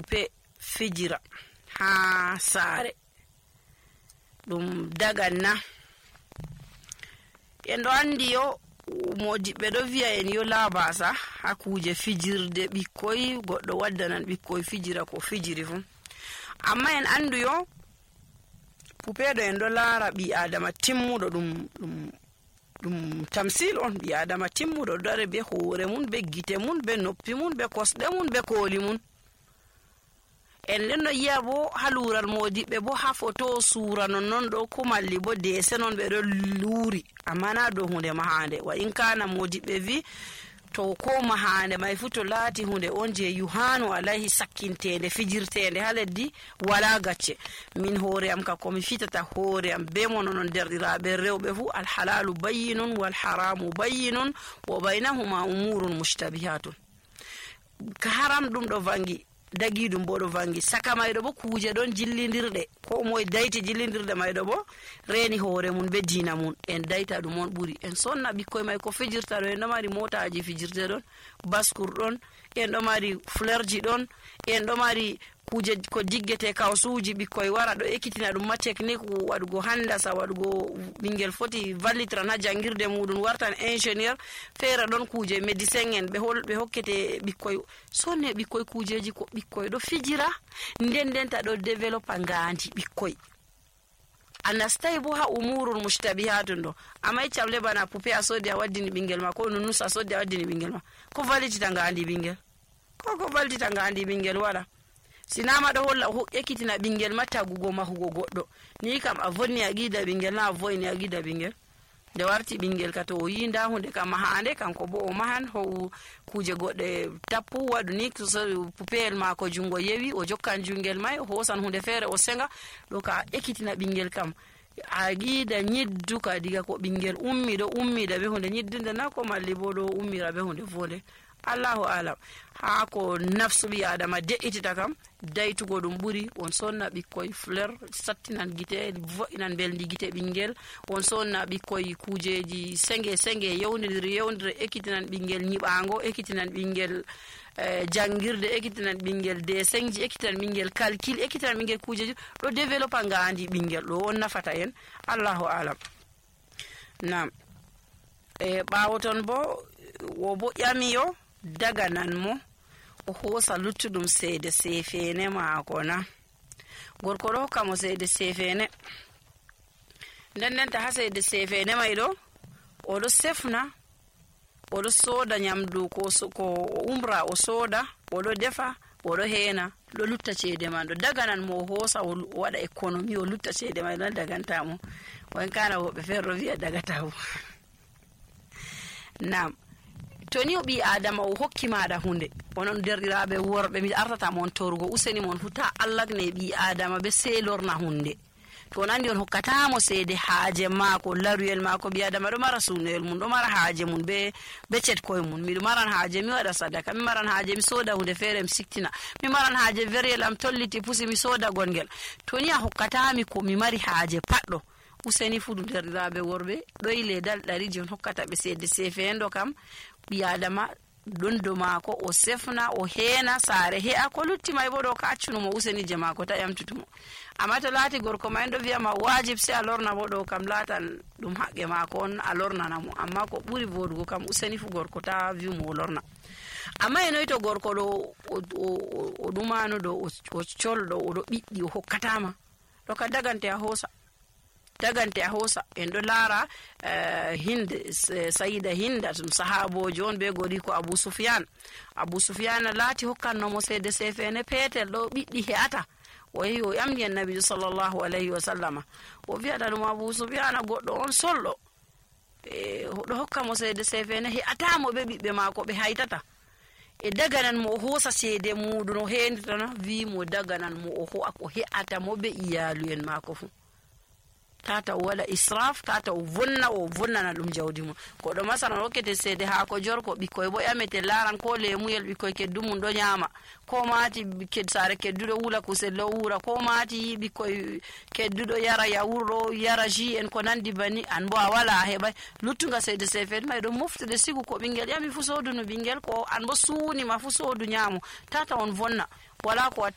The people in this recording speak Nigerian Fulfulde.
pupe fijira ha saare ɗum daganna. En ɗo andi yo modiɓɓe ɗo wi'a en yo labasa ha kuje fijirde ɓikkoy, goɗɗo waddanan ɓikkoy fijira ko fijiri fu. Amma en andu yo pupeɗo en ɗo laara ɓi adama timmuɗo ɗum tamsil on. ɓi adama timmuɗo ɗo dare be hoore mun, be gite mun, be noppi mun, be kosɗe mun, be kooli mun. En nden no yi'a bo ha luural modiɓɓe bo ha foto suura non ɗo ko malli bo dese non ɓe ɗo luuri, amma na dow hunde mahande. Wa in kana modiɓɓe vi to ko mahande may fu to laati hunde on je yuhanu alayhi sakkintende fijirtende ha leddi wala gacce. Min hoore am ka komi fitata hoore am be mono non derɗiraɓe rewɓe fu alhalalu bayyinun wal haramu bayyinun wa baynahuma umurun mushtabihatun. Ka haram ɗum ɗo vangi, dagi ɗum bo ɗo vangi, saka mayɗo bo kuje ɗon jillidirɗe, ko moye dayti jillidirɗe mayɗo bo reni hoore mun be diina mun. En dayta ɗum on ɓuri. En sonna ɓikkoy may ko fijirta ɗo. En ɗo mari motaji fijirte ɗon, baskur ɗon, en ɗo mari flerji ɗon, en ɗo mari kuje ko jiggete kawsuji. Ɓikkoy wara ɗo ekkitina ɗum ma technique waɗugo handasa, waɗugo ɓingel foti vallitran ha jangirde muɗum wartan ingénieur. Feere ɗon kuje médecin en ɓe hokkete ɓikkoy. Sonne ɓikkoy kujeji ko ɓikkoy ɗo fijira, ndenta ɗo développa ngandi ɓikkoy. A nastai bo ha umurul mushtabihatun ɗo. Amma iccamle bana pupe a sodi a waddini ɓingel ma, ko nunus a sodi a waddini ɓingel ma, ko vallitita ngandi ɓingel? Ko vallitita ngandi ɓingel wala. Sinama ɗo holla ekkitina ɓingel ma tagugo mahugo goɗɗo. Ni kam a vonni a gida ɓingel na a voyni a gida ɓingel. Nde warti ɓingel ka to o yi nda hunde kam mahande, kanko bo o mahan ho kuje goɗɗe tappu waɗu ni pupeyel mako jungo yewi o jokkan jungel may o hosan hunde feere o senga. Ɗo ka ekkitina ɓingel kam a gida nyidduka diga ko ɓingel ummi ɗo ummida be hunde nyiddinde na ko malli bo ɗo ummira be hunde fonde. Allahu alam. Ha ko nafsu ɓi adama de'itita kam daytugo ɗum ɓuri. On sonna ɓikkoy fleur sattinan gite, vo'inan belndi gite ɓingel. On sonna ɓikkoy kujeji senge yewndiri ekkitinan ɓingel nyiɓango, ekkitinan ɓingel jangirde, ekkitinan ɓingel desengji, ekkitinan ɓingel calcul, ekkitinan ɓingel kujeji ɗo développa ngandi ɓingel. ɗo on nafata en. Allahu alam. Nam ɓawo ton bo wo bo ƴami yo daganan mo o hoosa luttuɗum seede sefene maako na. Gorko ɗo hokka mo seede sefene, ndendenta ha seede sefene may ɗo oɗo sefna, oɗo sooda nyamdu ko umra o sooda, oɗo defa, oɗo heena, ɗo lutta ceede man ɗo. Daganan mo o hoosa o waɗa économie o lutta ceede may ɗon dagantamo. Wan kana woɓɓe feere ɗo wi'a dagatamo. Nam to ni o ɓi adama o hokki maɗa hunde, onon derɗiraɓe worɓe mi artata mon torugo, useni mon fu ta allagne ɓi adama be seelorna hunde. To on andi on hokkatamo seede haaje maako, laruyel maako. Ɓi adama ɗo mara sunoyel mum, ɗo mara haaje mum be cetkoye mum. Miɗo maran haaje mi waɗa sadaka, mi maran haaje mi soda hunde feere mi siktina, mi maran haaje veriyel am tolliti pusi mi soda gongel. To ni a hokkatami ko mi mari haaje paɗɗo, useni fu ɗum derɗiraɓe worɓe ɗoyi ledal ɗariji on hokkata ɓe seede sefendo kam. Ɓi adama ɗon do maako o sefna o heena saare he'a, ko lutti may bo ɗo ka accunumo useni je maako ta ƴamtutumo. Amma to laati gorko may ɗo wiyama wajib se a lorna bo ɗo kam latan ɗum haqqe maako on a lornana mo. Amma ko ɓuri vodugo kam useni fu gorko ta wi'umo o lorna. Amma e noyi to gorko ɗo o ɗumano ɗo o colɗo oɗo ɓiɗɗi o hokkatama ɗo ka dagante a hoosa. En ɗo laara sayida hinda tum sahabojo on be gori ko Abu Sufyan laati hokkannomo seede sefene peetel ɗo ɓiɗɗi he'ata. O yehi o ƴamdi annabijo sallllahu alayhi wa sallama, o wi'ata ɗum Abu Sufyan goɗɗo on solɗo, ɗo hokka mo seede sefene he'atamo ɓe ɓiɓɓe maako ɓe haytata. E daganan mo o hoosa seede muɗum o henditana wi mo daganan mo o he'ata mo ɓe iyaluyen maako fu. Tata o waɗa israf, tata o vonnana ɗum jawdi mum. Goɗɗo masalan hokkete seede haako jorko, ɓikkoy bo ƴamete laran ko lemuyel ɓikkoy keddumum ɗo ñaama, ko maati saare kedduɗo wula kusel ɗo wura, ko maati ɓikkoy kedduɗo yara yawurɗo yara ji en ko nandi bani, an bo a wala a heɓay luttuga seede sefede may ɗo moftude sigu ko ɓingel ƴami fu soodunu ɓingel, ko an bo suunima fu soodu ñaamu. Tata on vonna, wala ko